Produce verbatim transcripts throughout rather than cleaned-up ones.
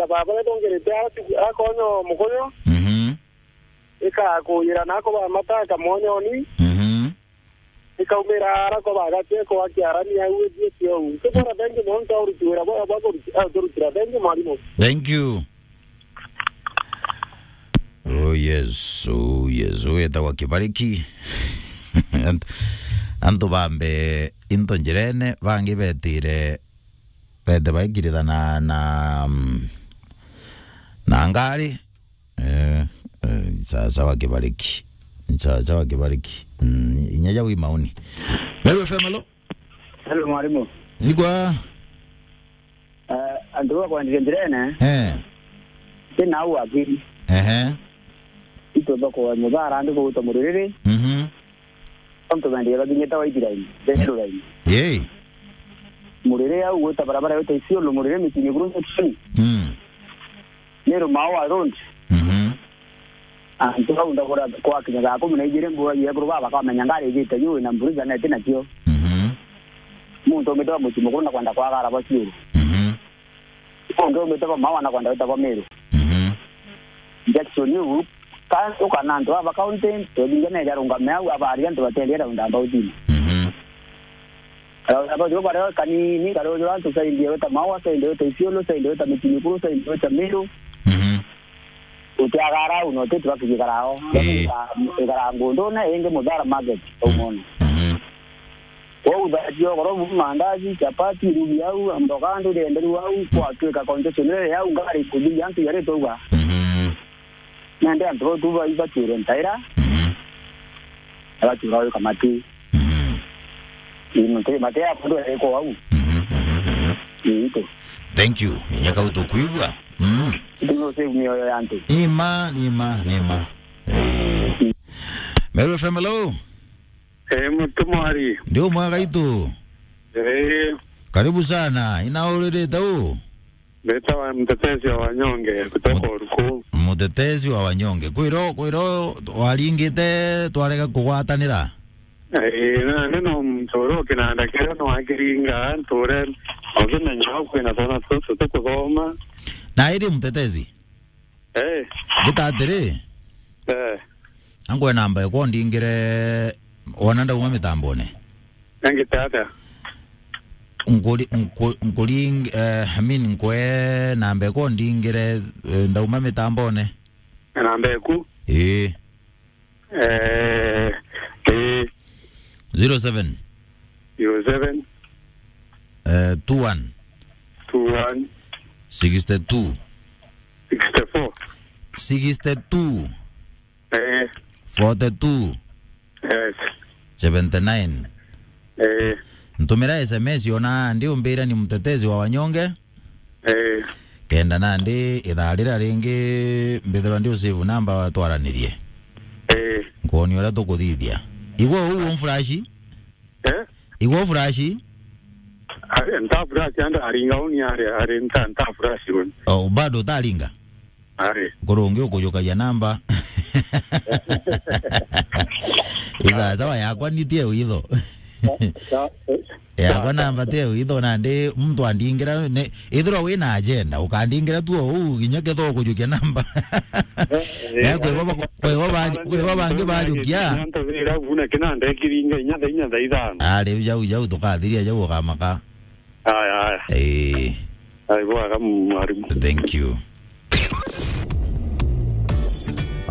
Baba, nitongirite ara tu-, akonyo mukunyo. Mhm. Ikakuyira nako ba mata, akamwonyoni. Mhm. Ikaumira ara ko bagateko akiarania au, ithie kiou. Tukora thank you, mwanka uruti wira bwa, bwa kuruti-, ah, turutira. Thank you, mwalimu. Thank you. Oh, yes. Oh, yes. Wetagwa Kibariki. Ant-, antu bambe into njirene, bangi betire, bete baikirithana na, mm, na ngari. Eh, eh, sawa sawa Kibariki. Sawa sawa Kibariki. Mm, inya jau i maoni. Meru F M, hello? Hello, mwalimu. Igwa. Eh, antu ba kwandike njirene. Eh. Ti nau akiri. Ehe. Itu thoko muthara ndi kuguta muririri. Mhm. Antu bendire bakinyite White Line, Central Line. Yei. Muriri au gwita barabara yote Isiolo, muriri mitini kuru mitini. Mm. Meru Maua Road. Mhm. Antu bau ndagura kwakinya thaa kumi na ijiri mbura yekuru baba bakamenya ngari ijite juu na mburi jana iti nakio. Mhm. Muntu umite ba mucii mukuru na kwenda kwagara ba Isiolo. Mhm. Muntu umite ba Maua na kwenda wita ba Meru. Mhm. Injection iu, ka-, ukana antu aba county, twethingia neja rungame au, abari antu bateria round about ini. Mhm. Round about iu kare kanini, kare ujura antu saindi weta Maua, saindi weta Isiolo, saindi weta Mitini Kuru, saindi weta Meru. Mhm. Utiagara au, no titu bakigikara ao. Ii. Ikara ngundune, ingi Muthara Market, au mono. Mhm. Kwou thaa cia ugoro bu mandazi, chapati, rugi au, mboga ndu rienderu au, kwatwika congestion iri au, ngari ikuthiria antu yari twauga. Mhm. Nende antu bau tu bai batuire ntaira. Mhm. Abatura au kamati. Mhm. Ii, mate, mate ya kundu ere ko au. Mhm, mhm, mhm. Ii, itu. Thank you. Inya kau tukwigua. Mm. Itu no save mioyo ya antu. Ima, ima, ima. Eh. Meru F M, hello? Eh, Mutumwari. Ndi umwe gaitu. Eh. Karibu sana. Ina uririte u? Mbetawa Mtetezi wa Wanyonge kutoka Mut-, Uruku. Mutetezi wa Wanyonge. Kwiro, kwiro waringite twarega kugwatanira? Eh, na, ni no muntu uria ukinanda kiria no akiringa, nture, ukimenya kwina twana tutu tukuthoma. Na iri Mutetezi? Eh. Ngita atiri? Eh. Angwe namba ekwo ndingire wona ndauma mitambone. Ngita atia? Nkuri-, nku-, nkuring-, eh, I mean, nkwe namba ekwo ndingire, eh, ndauma mitambone. Namba eku? Ii. Eh, ii. Zero seven. Zero seven. Eh, two one. Two one. Sixty-two. Sixty-four. Sixty-two. Eh. Forty-two. Yes. Seventy-nine. Eh. Ntumira S M S ona ndi umbira ni Mutetezi wa Wanyonge. Eh. Kenda nandi ithaa riria ringi mbithirwa ndi usave namba twaranirie. Eh. Nkwoni uria tukuthithia. Igwe uu umfurashi? Eh? Igwe ufurashi? Ari, nta furashi, anda aringa uni ari, ari nta, nta furashi uni. Oh, bado utaringa? Ari. Kurungi ukujukagia namba. Isa, sawa, yakwa nitie witho. Sa-, sa-, Yakwa namba ti witho nandi muntu andingira ne, ithirwa wina agenda, ukandingira tu uu, kinya ketho ukujukia namba. Eh, eh, Na kwi baba, kwi baba, kwi baba angi bajukia. Ntabira buna kinanda ekiringa inya thaa inya thaa ithano. Ah, riu jau, jau tukathiria jau ukamaka. Aya, aya. Eh. Ai, bwaga mwarimu. Thank you.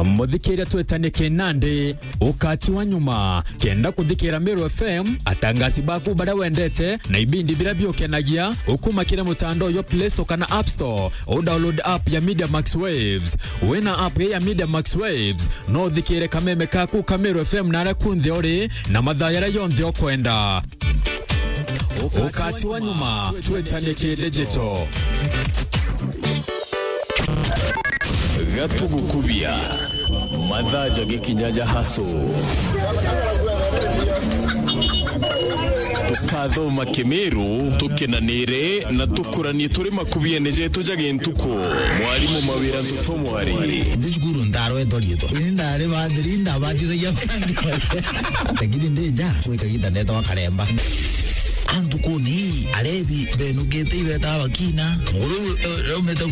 Muthikiria twetanie kinandi, ukati wa nyuma. Kenda kuthikira Meru F M, atangasi baku baria wendete, na ibindi biria biukenagia, ukuma kiri mutandao jwa Play Store kana App Store, u download app ya Media Max Waves. Wina app ya Media Max Waves, no uthikire kameme kaku ka Meru F M na aria kunthe uri, na mathaa jaria jonthe ukwenda. Ukati wa nyuma, twetanie ki digital. Gatugukubia. Mathaa ja gikinya ja haso. Tukathoma Kimiru, tukenanire na tukuranie turi makubiene jetu ja gintuku. Mwarimu Mawira Ntutu Mwari. Ndi cukuru ndarwetwa riitwa. Ini ndari bathiri, ndabatithagia. Lakini ndi nja, kwi kagiita ndeetagwa Karemba. Antu kuni, arebi, benukite ibeta bakina. Nguru, eh, raumite